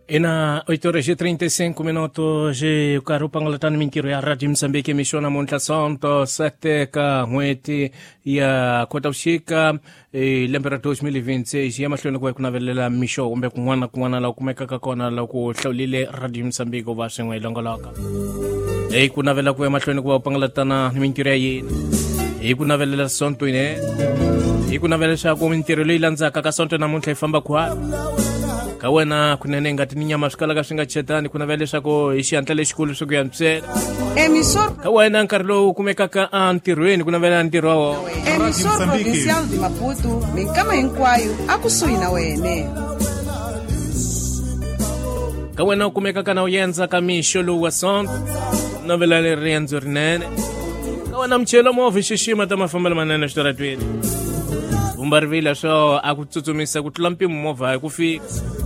Ina 8 horas e 35 minutos e karhi u pangalatani mintirho ya Radio Mozambique mixo namuntlha Sonto 7 ka n'hweti ya Khotavuxika e lembe ra 2026 ya mahlweni ku va ku navelela mixo kumbe kun'wana na kun'wana laha kumekaka kona loko hlawulile Radio Mozambique u va swin'we hi longoloka hi ku navela ku ya mahlweni ku va u pangalatana ni mintirho ya yena hi ku navelela sonto ine hi ku navela leswaku mintirho leyi landzaka ka sonto namuntlha yi famba khwala ka wena kunene ngati ni nyama swi kalaka swi nga chetani ku navela leswaku hi xihatla lexikulu swi ku yantswela Emissor, ka wena nkarhi lowu kumekaka entirhweni ku navela ntirho wa wona emissor Mozambique. provincial de Maputo, minkama hinkwayo akusuhi na wene. Ka wena u kumekaka na u yendza ka mixo lowu wa sonto, navela leri riendzo rinene. Ka wena muchelo movha xixima ta mafambelo manene eswitaratweni. Vumba rivila swo a ku tsutsumisa ku tlula mpimo movha hi ku fika.